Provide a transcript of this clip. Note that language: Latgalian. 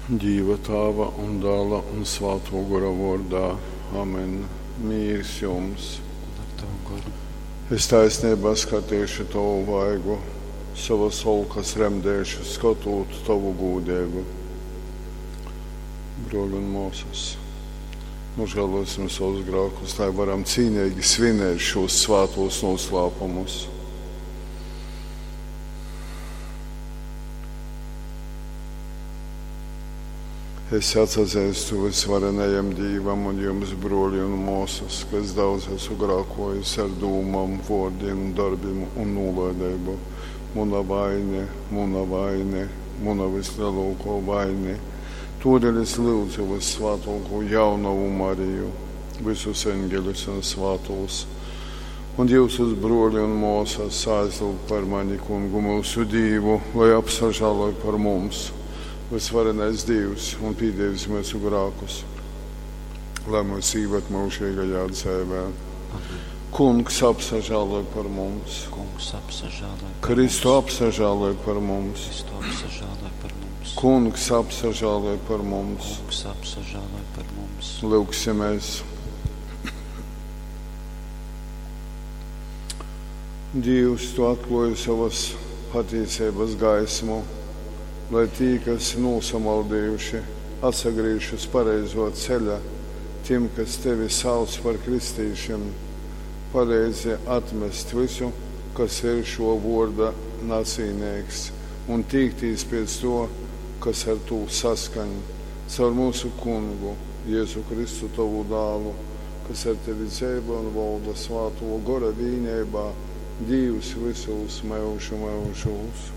Dīva Tāva un Dāla un Svātō Gora vōrdā. Amen. Mīrs jums! Un ar tavu goru. Es taisneibā skatīšu tovu vaigu, sovas olkas remdēšu, skotūt tovu gūdeibu. Brōļi un mōsas, nožēlosim savus grākus, lai varam cīneigi svinēt šos svātos noslēpumus. Es atsazeistu vysvarenajam Dīvam un jums, brōļi un mōsas, ka es daudz esmu grākojis ar dūmām, vōrdiem, darbim un nūlaideibu. Muna vaine, muna vaine, muna vislielākā vaine. Todēļ es lūdzu vyssvātāko jaunavu Mariju, visus eņģeļus un svātos, un jūsus brōļi un mōsas aizlūgt par mani kungu mūsu Dīvu, lai apsažāloj par mums vysvarenais Dīvs un pīdevis mūsu grākus, lai mūs īved mūžīgajā dzīvē. Amen. Kungs apsažāloj par mums. Kungs apsažāloj par Kristu mums. apsažāloj par mums. Kristu apsažāloj par mums. Kungs apsažāloj par mums. Kungs apsažāloj par mums. Lūgsimies. Dievs, tu atklāji savas patīcības gaismu, lai tī, kas nosamaldījuši, atsagriež uz pareizo ceļa, tiem, kas tevi sauc par kristīšiem, palīdzi atmest visu, kas ir šo vārda nacīnīgs, un tīktīs pēc to, kas ar to saskaņ. Caur mūsu kungu, Jēzu Kristu, tavu dālu, kas ar tevi dzīvo un valda svāto gora vīnībā, Dievs visos mūžu mūžos.